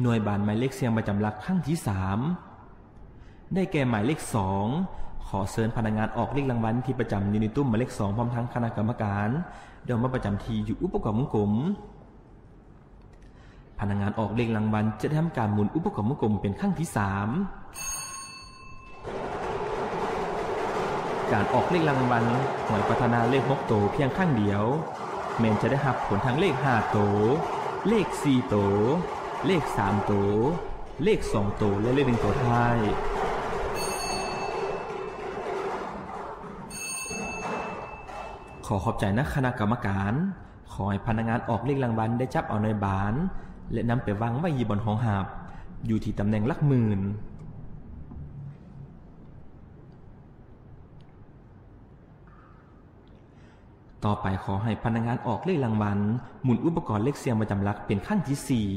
ໜ່ວຍບານໝາຍເລກສ່ຽງປະຈຳຫຼັກຄັ້ງທີສາມ ໄດ້ແກ່ໝາຍເລກສອງ. ຂໍເຊີນພະນັກງານອອກເລກລາງວັນທີ່ປະຈຳຢູ່ໃນຕຸ້ມໝາຍເລກສອງ ພ້ອມທັງຄະນະກຳມະການ ດອກມາປະຈຳທີ່ຢູ່ອຸປະກອບວົງກົມ. ພະນັກງານອອກເລກລາງວັນຈະໄດ້ທຳການໝູນອຸປະກອບວົງກົມເປັນຄັ້ງທີສາມ. ການອອກເລກລາງວັນຫວຍພັດທະນາເລກຫົກໂຕພຽງຄັ້ງດຽວ ແມ່ນຈະໄດ້ຮັບຜົນທັງເລກຫ້າໂຕ, ເລກສີ່ໂຕ, ເລກສາມໂຕ, ເລກສອງໂຕ ແລະ ເລກໜຶ່ງໂຕທ້າຍ. ຂໍຂອບໃຈນະຄະນະກຳມະການ. ຂໍໃຫ້ພະນັກງານອອກເລກລາງວັນໄດ້ຈັບເອົາໜ່ວຍບານ ແລະ ນຳໄປວາງໄວ້ຢູ່ບ່ອນຮອງຮັບ ຢູ່ທີ່ຕຳແໜ່ງຫຼັກໝື່ນ. ຕໍ່ໄປ ຂໍໃຫ້ພະນັກງານອອກເລກລາງວັນໝູນອຸປະກອນເລກສ່ຽງປະຈຳຫຼັກເປັນຄັ້ງທີສີ່.